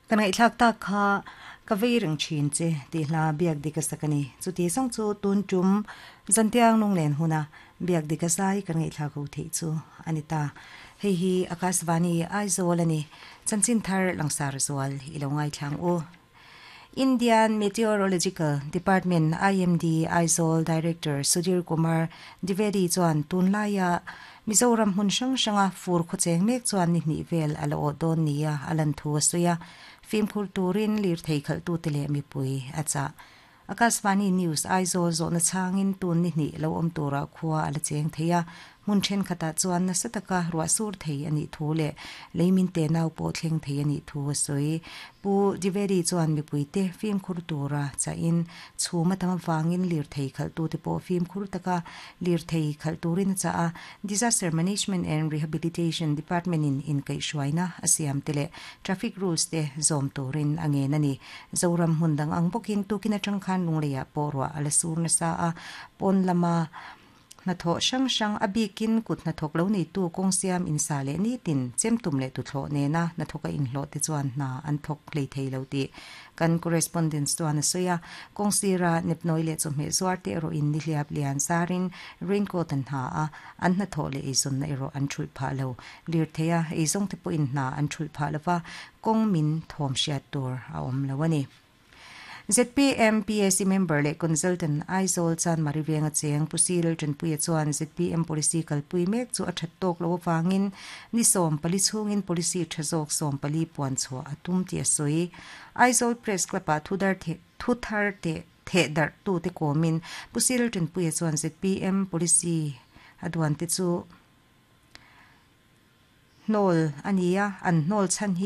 Kan ngaihthlak tak kha ka vei reng thin che tih hla biak dik a sak a ni. Chuti zawng chu tun tum zantiang lunglen huna biak dik a zai kan ngaihthlak ho theih chu a ni ta. Hei hi Akashvani Aizawl a ni. Chanchin thar langsar zual i lo ngaithlang u. Indian Meteorological Department, IMD, Aizawl Director Sudhir Kumar Dwivedi chuan tunlaia Mizoram hmun hrang hranga fur khawcheng mek chuan ni hnih vel a la awh dawn nia a lan thu a sawi a, fimkhur turin lirthei khalhtute leh mipui a chah. Akashvani News Aizawl zawhna chhangin tun ni hnih lo awm turah khua a la cheng thei a, hmun thenkhatah chuan nasa taka ruah sur thei a nih thu leh leimin te nau pawh thleng thei a nih thu a sawi. Pu Dwivedi chuan mipuite fimkhur tura chahin chhum a tam avangin lirthei khalhtute pawh fimkhur taka lirthei khalh turin a chah a, Disaster Management and Rehabilitation Department-in inkaihhruaina a siam te leh traffic rules te zawm turin a ngen a ni. Zoram hmun dang ang bawkin tukin atang khan Lungleiah pawh ruah a la sur nasa a, pawn lama hnathawh hrang hrang a bikin kut hnathawk lo neitu kawng siam insa leh nitin chemtum leh tuthlawh nena hnathawka inhlawh te chuan hna an thawk hlei thei lo tih kan correspondents chuan a sawi a. Kawng sira nepnawi leh chawhmeh zuar te erawh in nihliap lian zarin raincoat an ha a, an hnathawh leh eizawnna erawh an thulh phah lo. Lirthei a eizawng te pawhin hna an thulh phah lo va, kawng min thawm hriat tur a awm lo a ni. Zpm PAC member leh consultant Aizawl Chanmari Venga cheng Pu Cyril Tanpuia chuan zpm policy kalpui mek chu a that tawk lo avangin ni 14 chhungin policy tha zawk 14 puan chhuah a tum tih a sawi. Aizawl Press Club-ah thudar thu thar teh theh darh tute kawmin Pu Cyril Tanpuia chuan zpm policy a duan te chu hnawl a ni a, an hnawl chhan hi.